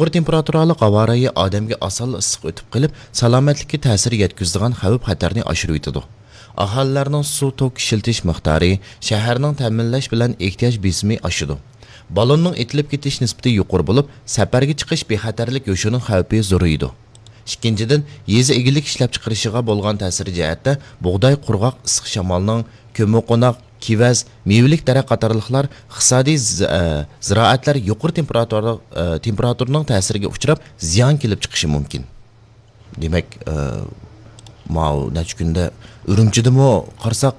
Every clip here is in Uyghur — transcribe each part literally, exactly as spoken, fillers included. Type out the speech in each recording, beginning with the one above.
يۇقىرى تېمپېراتۇرالىق ھاۋا رايى ئادەمگە ئاسانلا ئىسسىق ئۆتۈپ قېلىپ، سالامەتلىككە تەسىر يەتكۈزىدىغان خەۋپ-خەتەرنى ئاشۇرۇۋېتىدۇ. ئاھالىلەرنىڭ سۇ توك ئىشلىتىش مىقدارى، شەھەرنىڭ تەمىنلەش بىلەن ئېھتىياج بېسىمى ئاشىدۇ. بالوننىڭ ئېتىلىپ كېتىش نىسبىتى يۇقىرى بولۇپ، سەپەرگە چىقىش بىخەتەرلىك يوشۇرۇن خەۋپى زورىيىدۇ. ئىككىنچىدىن، يېزا ئىگىلىك ئىشلەپچىقىرىشىغا بولغان تەسىرى جەھەتتە بۇغداي قۇرغاق ئىسسىق شامالنىڭ، كۆممىقوناق، كېۋەز، مېۋىلىك دەرەخ قاتارلىقلار ئىقتىسادىي ز-، ئە، زىرائەتلەر يۇقىرى تېمپېراتۇرا-، ئە، تېمپېراتۇرىنىڭ تەسىرىگە ئۇچراپ، زىيان كېلىپ چىقىشى مۇمكىن. دېمەك، ئە، ماۋۇ نەچچە كۈندە ئۈرۈمچىدىمۇ قارىساق،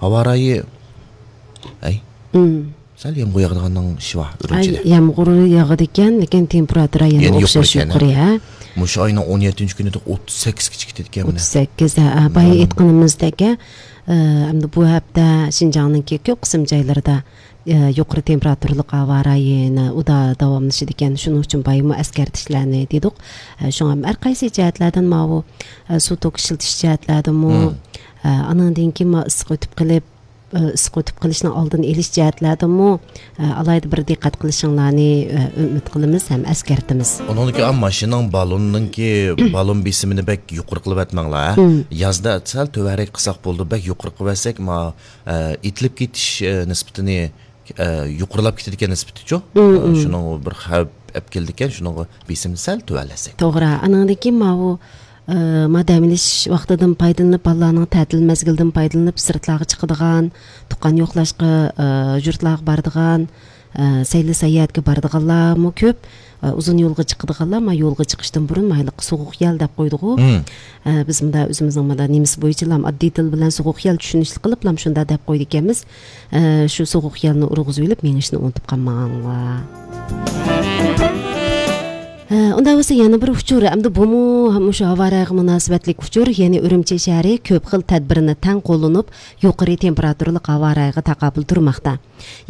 ھاۋا رايى، ئەي، مم. سەل يامغۇر ياغىدىغاننىڭ ئىشى بار ئاي، ئۈرۈمچىدە. يامغۇر ياغىدىكەن، لېكىن تېمپېراتۇرا يەنە يەنە ئوخشاش يۇقىرى ئىكەن، ھە؟ يۇقىرى، ھە؟ مۇشۇ ئاينىڭ ئون يەتتىنچى كۈنىدە ئوتتۇز سەككىزگىچە كېتىدىكەن مانا. ئوتتۇز سەككىز، ھە، ھە، بايا مم. ئېيتقىنىمىزدەك، ھە، ئە، ئەمدى بۇ ھەپتە شىنجاڭنىڭكى كۆپ قىسىم جايلىرىدا، ئە، يۇقىرى تېمپېراتۇرىلىق ھاۋا رايى يەنە ئۇدا داۋاملىشىدىكەن. شۇنىڭ ئۈچۈن بايىمۇ ئەسكەرتىشلەرنى دېدۇق. ئە، شۇڭا ھەر قايسى جەھەتلەردىن ماۋۇ، ئە، سۇ توك ئىشلىتىش جەھەتلەردىمۇ، مم. ئە، ئانىڭدىن كېيىن ما ئىسسىق ئۆتۈپ قېلىپ، ئىسسىق ئۆتۈپ قېلىشنىڭ ئالدىنى ئېلىش جەھەتلەردىمۇ، ئالاھىدە بىر دىققەت قىلىشىڭلارنى ئۈمىد قىلىمىز ھەم ئەسكەرتىمىز. ئۇنىڭدىكى ئا، ماشىنىنىڭ بالونىنىڭكى بالون بېسىمىنى بەك يۇقىرى قىلىۋەتمەڭلار، ھە؟ مم. يازدا سەل تۆۋەنرەك قىلساق بولىدۇ، بەك يۇقىرى قىلىۋەتسەك، ما، ئېتىلىپ كېتىش نىسبىتىنى، يۇقىرىلاپ كېتىدىكەن نىسبىتىچۇ. مم، مم. شۇنىڭغا بىر خەۋپ ئەپ كېلىدىكەن، شۇنىڭغا بېسىمنى سەل تۆۋەنلەتسەك. توغرا، ئانىڭدىن كېيىن ماۋۇ ئە، ما دەم ئېلىش ۋاقتىدىن پايدىلىنىپ، بالىلارنىڭ تەتىل مەزگىلىدىن پايدىلىنىپ، سىرتلارغا چىقىدىغان، تۇغقان يوقلاشقا، ئە، يۇرتلارغا بارىدىغان، ئە، سەيلە ساياھەتكە بارىدىغانلارمۇ كۆپ. ئە، ئۇزۇن يولغا چىقىدىغانلار ما يولغا چىقىشتىن بۇرۇن مايلىققا سوغۇق يەل دەپ قويدىغۇ. مم. ئە، بىز مۇندا ئۆزىمىزنىڭ مۇندا نېمىسى بويىچىلام ئاددىي تىل بىلەن سوغۇق يەل چۈشىنىشلىك قىلىپلام شۇنداق دەپ قويىدىكەنمىز. ئە، شۇ سوغۇق يەلنى ئۇرغۇزۇۋېلىپ مېڭىشنى ئۇنتۇپ قالماڭلار. ھە، ئۇنداق بولسا يەنە بىر ئۇچۇر، ئەمدى بۇمۇ مۇشۇ ھاۋا رايىغا مۇناسىۋەتلىك ئۇچۇر، يەنى ئۈرۈمچى شەھىرى كۆپ خىل تەدبىرنى تەڭ قوللىنىپ، يۇقىرى تېمپېراتۇرىلىق ھاۋا رايىغا تاقابىل تۇرماقتا.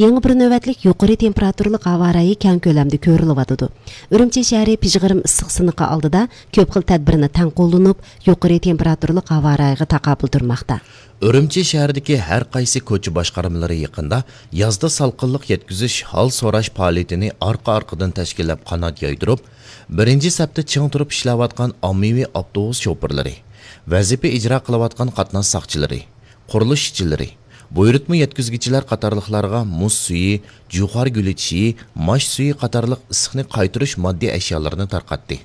يېڭى بىر نۆۋەتلىك يۇقىرى تېمپېراتۇرىلىق ھاۋا رايى كەڭ كۆلەمدە كۆرۈلۈۋاتىدۇ. ئۈرۈمچى شەھىرى پىژغىرىم ئىسسىق سىنىقى ئالدىدا كۆپ خىل تەدبىرنى تەڭ قوللىنىپ، يۇقىرى تېمپېراتۇرىلىق ھاۋا رايىغا تاقابىل تۇرماقتا. ئۈرۈمچى شەھىرىدىكى ھەر قايسى كوچا باشقارمىلىرى يېقىندا يازدا سالقىنلىق يەتكۈزۈش، ھال سوراش پائالىيىتىنى ئارقا-ئارقىدىن تەشكىللەپ قانات يايدۇرۇپ، بىرىنچى سەپتە چىڭ تۇرۇپ ئىشلەۋاتقان ئاممىۋى ئاپتوبۇس شوپۇرلىرى، ۋەزىپە ئىجرا قىلىۋاتقان قاتناش ساقچىلىرى، قۇرۇلۇش ئىشچىلىرى، بۇيرۇتما يەتكۈزگۈچىلەر قاتارلىقلارغا مۇز سۈيى، جۇخار گۈلى چېيى، ماش سۈيى قاتارلىق ئىسسىقنى قايتۇرۇش ماددىي ئەشيالىرىنى تارقاتتى.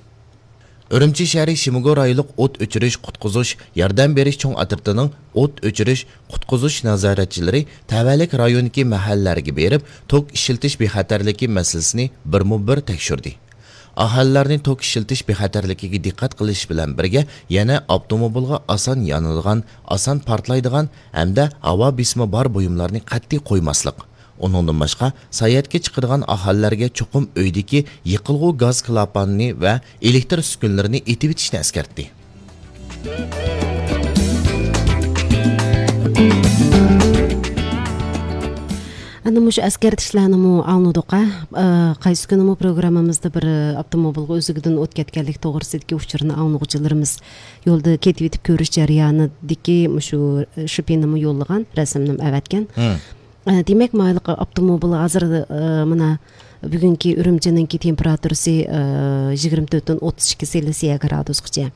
ئۈرۈمچى شەھىرى شىمگو رايونلۇق ئوت ئۆچۈرۈش، قۇتقۇزۇش، ياردەم بېرىش چوڭ ئاترىتىنىڭ ئوت ئۆچۈرۈش، قۇتقۇزۇش نازارەتچىلىرى تەۋەلىك رايوندىكى مەھەللىلەرگە بېرىپ، توك ئىشلىتىش بىخەتەرلىكى مەسىلىسىنى بىرمۇ بىر تەكشۈردى. ئاھالىلەرنى توك ئىشلىتىش بىخەتەرلىكىگە دىققەت قىلىش بىلەن بىرگە، يەنە ئاپتوموبىلغا ئاسان يانىدىغان، ئاسان پارتلايدىغان ھەمدە ھاۋا بېسىمى بار بۇيۇملارنى قەتئىي قويماسلىق، ئۇنىڭدىن باشقا، ساياھەتكە چىقىدىغان ئاھالىلەرگە چوقۇم ئۆيدىكى يېقىلغۇ گاز كىلاپانىنى ۋە ئېلېكتر ئۈسكۈنىلىرىنى ئېتىۋېتىشنى ئەسكەرتتى. ئەنە مۇشۇ ئەسكەرتىشلەرنىمۇ ئاڭلىدۇق، ھە. ئە، قايسى كۈنىمۇ پروگراممىمىزدا بىر، ئە، ئاپتوموبىلغا ئۆزىگىدىن ئوت كەتكەنلىك توغرىسىدىكى ئۇچۇرنى ئاڭلىغۇچىلىرىمىز يولدا كېتىۋېتىپ كۆرۈش جەريانىدىكى مۇشۇ، ئە، شىپىنىمۇ يوللىغان، رەسىمنىمۇ ئەۋەتكەن. ھە. ئە، دېمەك، مايلىق ئاپتوموبىل ھازىر، ئە، مانا بۈگۈنكى ئۈرۈمچىنىڭكى تېمپېراتۇرىسى، ئە، يىگىرمە تۆتتىن ئوتتۇز ئىككى سېلسىيە گرادۇسقىچە.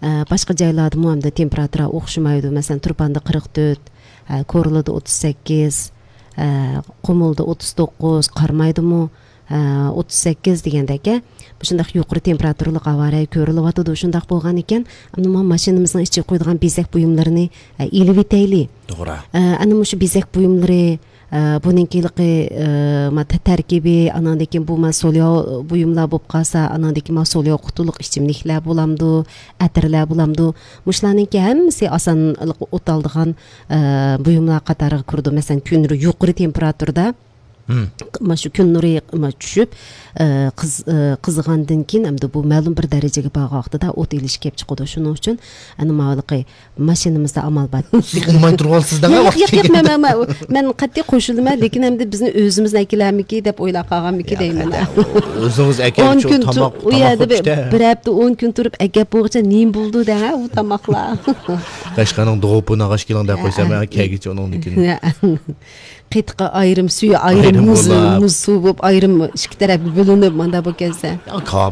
ئە، باشقا جايلاردىمۇ ئەمدى تېمپېراتۇرا ئوخشىمايدۇ. مەسىلەن، تۇرپاندا قىرىق تۆت، ئە، كورلىدا ئوتتۇز سەككىز، ئە، قۇمۇلدا ئوتتۇز توققۇز، قارامايدىمۇ، ئە، ئوتتۇز سەككىز دېگەندەك، ئە، مۇشۇنداق يۇقىرى تېمپېراتۇرىلىق ھاۋا رايى كۆرۈلۈۋاتىدۇ. شۇنداق بولغانىكەن، ئەمدى مانا ماشىنىمىزنىڭ ئىچىگە قويىدىغان بېزەك بۇيۇملىرىنى، ئە، ئېلىۋېتەيلى. توغرا. ئە، ئەنە مۇشۇ بېزەك بۇيۇملىرى، ئە، بۇنىڭكى ھېلىقى، ئە، ما تە-، تەركىبى، ئاناندىن كېيىن بۇ ما سولياۋ بۇيۇملار بولۇپ قالسا، ئاناندىن كېيىن ما سولياۋ قۇتىلىق ئىچىملىكلەر بولامدۇ، ئەتىرلەر بولامدۇ، مۇشۇلارنىڭكى ھەممىسى ئاسان ئوت ئالىدىغان، ئە، بۇيۇملار قاتارىغا كىرىدۇ. مەسىلەن، كۈن يۇقىرى تېمپېراتۇرىدا، مم. ما شۇ كۈن نۇرى ما چۈشۈپ، ئە، قىز-، ئە، قىزىغاندىن كېيىن ئەمدى بۇ مەلۇم بىر دەرىجىگە بارغان ۋاقتىدا ئوت ئېلىشى كېلىپ چىقىدۇ. شۇنىڭ ئۈچۈن ئەنە ماۋۇلۇقى ماشىنىمىزدا ئامال بار. ئۇنىماي تۇرۇۋالىسىز دەڭ. ياق، ياق، ياق، ياق، مەن، مەن، مەن، مەن قەتئىي قوشۇلىمەن، لېكىن ئەمدى بىزنى ئۆزىمىزنى ئەكېلەرمىكى دەپ ئويلاپ قالغانمىكى دەيمەن. ئۆزىڭىز ئەكەپ ئون كۈن تاماق، تۇ-، ئۇ يەردە بىر، بىر ھەپتە، ئون كۈن تۇرۇپ ئەكەپ بولغۇچە نېمە بولىدۇ دەڭ، ھە، ئۇ تاماقلار. قەشقەرنىڭ دوغۇپىنى ئاغاش كېلىڭ دەپ قويسا، مەن كەلگۈچە ئۇنىڭدىن كېيىن. قېتىقى ئايرىم، سۈيى ئايرىم، ئايرىم مۇز، بولا. مۇز سۇ بولۇپ ئايرىم ئىككى تەرەپكە بۆلۈنۈپ، ماندا بولۇپ كەلسە. يا، كاپ،